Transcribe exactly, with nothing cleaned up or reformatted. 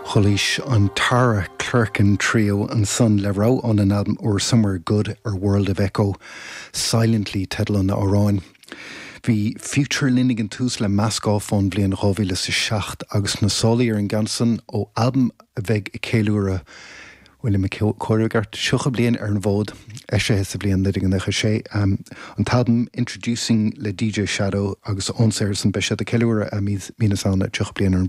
Chualaís an Tara Clerkin Trio ansan le rogha óna n-albam úr Somewhere Good ar World of Echo Silently teideal an amhráin. Bhí Future linn ag an tús le Mask Off ón bhliain dhá mhíle is a seacht agus na sólaí ar an gceann san ó albam a bheidh ag ceiliúradh bhfuil mé ag comhaireamh i gceart tríocha bliain ar an bhfód eisithe sa bhliain naoi déag nócha sé. An t-albam Introducing le DJ Shadow agus ón saothar san beidh siad ag ceiliúradh mí na Samhna tríocha bliain ar an